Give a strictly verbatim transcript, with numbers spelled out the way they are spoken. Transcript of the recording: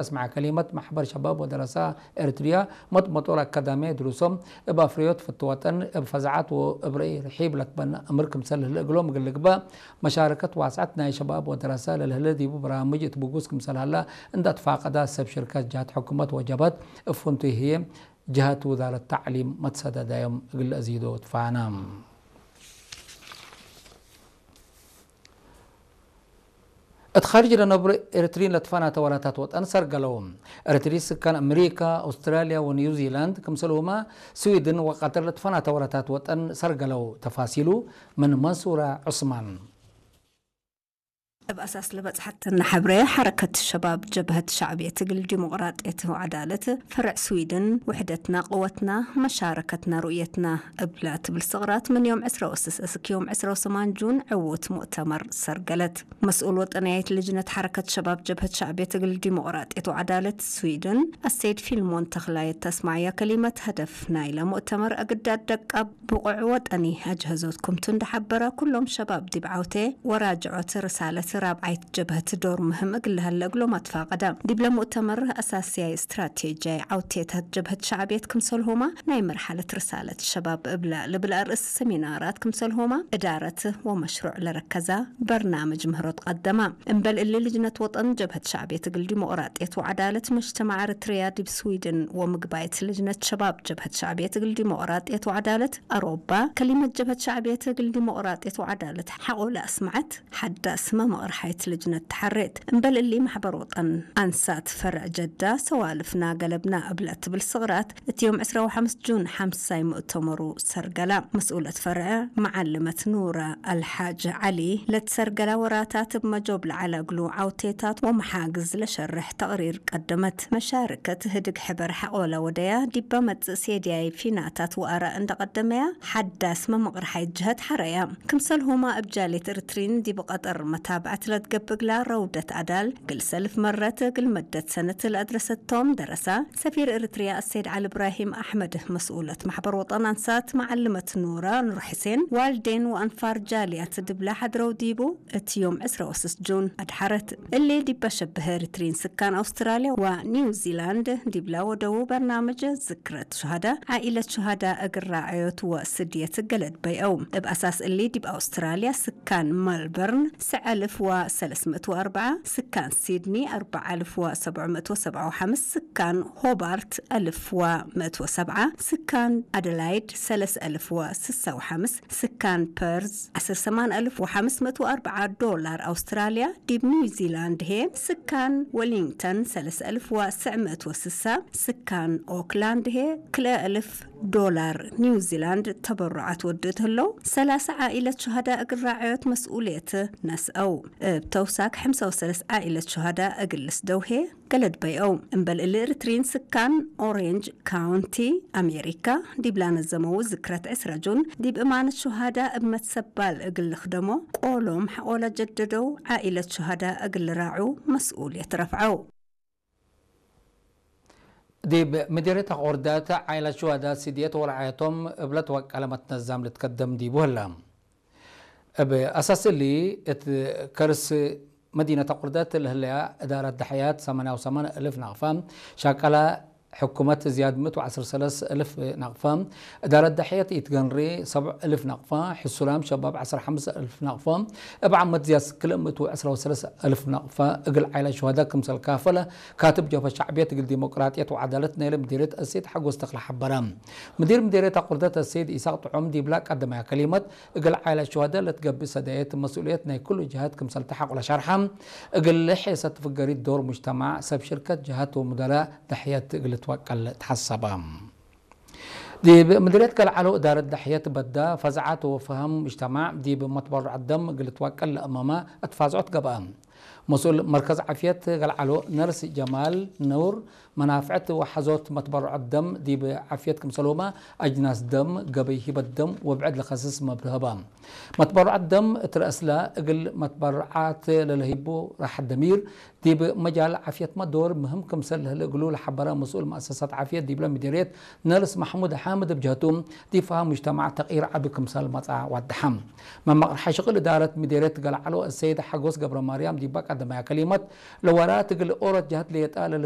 አስመዐ ከሊመት፣ መሕበር ሸባብ ወደረሳ ኤረትርያ መጥመጦር አካዳምያይ ድሩሶም እብ አፍረዮት ፍትወጠን፣ እብ ፈዛዐት ወእብ ረእይ ርሒብ ለትበነ አምር ክምሰል ህለ እግሎም እግል ልግበእ፣ መሻረከት ዋስዐት ናይ ሸባብ ወደረሳ ለልህለ ዲቡ በራምጅ እት ብጉስ ክምሰል ሀላ እንደ አትፋቀዳ፣ ሰብ ሽርከት ጀሀት ሕኩመት ወጀብሀት እብ ፍንቱይ ህዬ ጀሀት ውዛረት ተዕሊም መትሰደዳዮም እግል ለአዚዶ ትፋነ። እት ካርጅ ለነብሮ ኤረትርዪን ለትፈናተ ወላታት ወጠን ሰርገለው። ኤረትርዪ ስካን አምሪካ፣ አውስትራልያ ወኒውዚላንድ፣ ክምሰልሁመ ስዊድን ወቀጠር ለትፈናተ ወላታት ወጠን ሰርገለው። ተፋሲሉ ምን መንሱረ ዑስማን። እብ አሳስ ለበጽሐተነ ሐብሬ፣ ሐረከት ሸባብ ጀብሀት ሸዕብየት እግል ዲሞቅራጥየት ወዐዳለት ፈርዕ ስዊድን፣ ውሕደትና ቅወትና፣ መሻረከትና ሩእየትና እብላ ትብል ስቅራት፣ ምን ዮም ዕስራ ወስስ እስክ ዮም ዕስራ ወሰማን ጁን ዕዉት ሙእተመር ሰርገለት። መስኡል ወጠንያይት ልጅነት ሐረከት ሸባብ ጀብሀት ሸዕብየት እግል ዲሞቅራጥየት ወዐዳለት ስዊድን፣ አሰይድ ፊልሞን ተኽላይ እት አስመዐያ ከሊመት፣ ሀደፍ ናይለ ሙእተመር አግዳድ ደቃብ ብቁዕ ወጠኒ አጅሀዞት ክምቱ እንደ ሐበረ፣ ኩሎም ሸባብ ዲብ ዐውቴ ወራጅዖት ርሳለት ራብዓይት ጀብሀት ዶር ምህም እግል ለሀለ እግሎም አትፋቀደ። ዲብለ ሙእተመር አሳስያይ ስትራቴጅያይ ዐውቴታት ጀብሀት ሸዕብየት ክምሰልሁመ ናይ መርሐለት ርሳለት ሸባብ እብለ ልብል አርእስ ሰሚናራት ክምሰልሁመ እዳረት ወመሽሩዕ ለረከዛ በርናምጅ ምህሮት ቀደመ። እምበል እሊ ልጅነት ወጠን ጀብሀት ሸዕብየት እግል ዲሞቅራጥየት ወዐዳለት መጅተማዕ ኤረትርያ ዲብ ስዊድን ወምግባይት ልጅነት ሸባብ ጀብሀት ሸዕብየት እግል ዲሞቅራጥየት ወዐዳለት አሮባ፣ ከሊመት ጀብሀት ሸዕብየት እግል ዲሞቅራጥየት ወዐዳለት ሐቆ ለአስመዐት ሐዳስ መመቅርሓይት ልጅነት ተሐሬት። እምበል እሊ፣ መሕበር ወጠን አንሳት ፈርዕ ጀዳ፣ ሰዋልፍና ገለብና እብለ ትብል ስቅራት፣ እት ዮም ዕስራ ወሐምስ ጁን ሐምሳይ ሙእተመሩ ሰርገላ። መስኡለት ፈርዕ መዓልመት ኑረ አልሓጅ ዐሊ፣ ለትሰርገላ ወራታት እብ መጆብ ለዐለ እግሉ ዐውቴታት ወመሓግዝ ለሸርሕ ተቅሪር ቀደመት። መሻርከት ህድግ ሕበር ሐቆለ ወደያ፣ ዲበ መጽእ ሴድያይ ፊናታት ወአራእ እንደ ቀደመያ፣ ሐዳስ መመቅርሓይት ጀህት ሐረያ። ክምሰልሁመ እብ ጃልየት ኤረትርዪን ዲብ ቀጠር መታብዐት ለትገብእ እግላ ረውደት አዳል፣ እግል ሰልፍ መረት እግል መደት ሰነት ለአድረሰቶም ደረሳ፣ ሰፊር ኤረትርያ አሰይድ ዐሊ እብራሂም አሕመድ፣ መስኡለት መሕበር ወጠን አንሳት መዓልመት ኑረ ኑር ሕሴን፣ ዋልዴን ወአንፋር ጃልያት ዲብላ ሐድረው ዲቡ፣ እት ዮም ዕስራ ወስስ ጁን አድሐረት። እሊ ዲብ አሸብህ ኤረትርዪን ስካን አውስትራልያ ወኒውዚላንድ ዲብላ ወደዉ በርናምጅ ዝክረት ሹሃዳ፣ ዓኢለት ሹሃዳ እግል ራዐዮት ወስድየት ገለድ በይአው። እብ አሳስ እሊ ዲብ አውስትራልያ ስካን መልበርን ሰዕ አልፍ ወሰለስ ምእት ወአርበዓ፣ ስካን ሲድኒ አርበዕ አልፍ ወሰብዕ ምእት ወሰብዓ ወሐምስ፣ ስካን ሆባርት አልፍ ወምእት ወሰብዓ፣ ስካን አደላይድ ሰለስ አልፍ ወስሳ ወሐምስ፣ ስካን ፐርዝ ዐስር ሰማን አልፍ ወሐምስ ምእት ወአርበዓ ዶላር አውስትራልያ፣ ዲብ ኒውዚላንድ ህዬ ስካን ወሊንግተን ሰለስ አልፍ ወስዕ ምእት ወስሳ፣ ስካን ኦክላንድ ህዬ ክልኤ አልፍ ዶላር ኒውዚላንድ ተበሩዓት ወድእት ህለው፣ ሰላሳ ዓኢለት ሹሃዳ እግል ራዐዮት መስኡልየት ነስአው። እብ ተውሳክ ሐምሳ ወሰለስ ዓኢለት ሹሃዳ እግል ልስደው ህዬ ገለድ በይአው። እምበል እሊ ኤረትርዪን ስካን ኦሬንጅ ካውንቲ አሜሪካ ዲብላ ነዘመው ዝክረት ዕስራ ጁን ዲብ እማነት ሹሃዳ እብ መትሰባል እግል ልክደሞ ቆሎም ሐቆለ ጀደደው፣ ዓኢለት ሹሃዳ እግል ልራዑ መስኡልየት ረፍዐው። ዲብ ምዲርየት አቆርዳት ዓኢለት ሹሃዳ ስድየት ወረዓየቶም እብ ለትወቀለ መትነዛም ልትከደም ዲቡ ህለ። እብ አሳስ እሊ፣ እት ከርስ መዲነት አቁርደት ለህለያ እዳረት ደሕያት ሰማንያ ወሰማን እልፍ ናቅፋ፣ ሻቀላ ሕኩመት ዝያድ ምእት ወዐስር ወሰለስ እልፍ ናቅፋ፣ እዳረት ደሕያት ኢትገንሪ ሰብዕ እልፍ ናቅፋ፣ ሕሱላም ሸባብ ዐስር ሐምስ እልፍ ናቅፋ፣ እብ ዓመት ዝያድ ክልኤ ምእት ወዐስር ወሰለስ እልፍ ናቅፋ እግል ዓኢላት ሹሃዳ ክምሰል ካፈለ ካትብ ጀብሀት ሸዕብየት እግል ዲሞቅራጥየት ወዐዳለት ናይለ ምዲርየት አሰይድ ሐጎስ ተክለ ሐበረ። ምዲር ምዲርየት አቁርደት አሰይድ ኢሳቅ ጥዑም ዲብላ ቀደማያ ከሊመት፣ እግል ዓኢላት ሹሃዳ ለትገብእ ሰዳየት መስኡልየት ናይ ኩሉ ጀሃት ክምሰል ተሐቁለ ሸርሐ፣ እግል ሔሰት ፍገሪት ዶር ሙጅተማዕ፣ ሰብ ሽርከት ጀሃት ወሙደራእ ደሕየት እግል ልትወቀል ተሐሰበ። ዲብ ምድርየት ገልዓሎ እዳረት ደሕየት በዳ፣ ፈዛዓት ወፈሀም ሙጅተማዕ ዲብ መትበሩዐት ደም እግል ልትወቀል ለአመመ አትፋዝዖት ገብአ። መስኡል መርከዝ ዓፍየት ገልዓሎ ነርስ ጀማል ኑር፣ መናፍዐት ወሐዞት መትበሩዐት ደም ዲብ ዓፍየት ክምሰልሁመ አጅናስ ደም፣ ገበይ ሂበት ደም ወብዕድ ለከስስ መብርሀ ህበ። መትበሩዐት ደም እት ረአስለ እግል መትበርዓት ለለህይቡ ራሐት ደሚር ዲብ መጃል ዓፍየትመ ዶር ምህም ክምሰል ለህለ እግሉ ለሐበረ መስኡል መአሰሳት ዓፍየት ዲብለ ምዴርየት ነርስ መሕሙድ ሓምድ እብ ጀህቱ፣ ዲብ ፈሀም ሙጅተማዕ ተቅይር ዐቢ ክምሰል መጽአ ወደሐ። መመቅርሐ ሽቅል እዳረት ምዴርየት ገልዓሎ አሰይድ ሓጎስ ገብረማርያም ዲበ ቀደማያ ከሊመት፣ ለወራት እግል ኦሮት ጀህት ሌጠ ለለ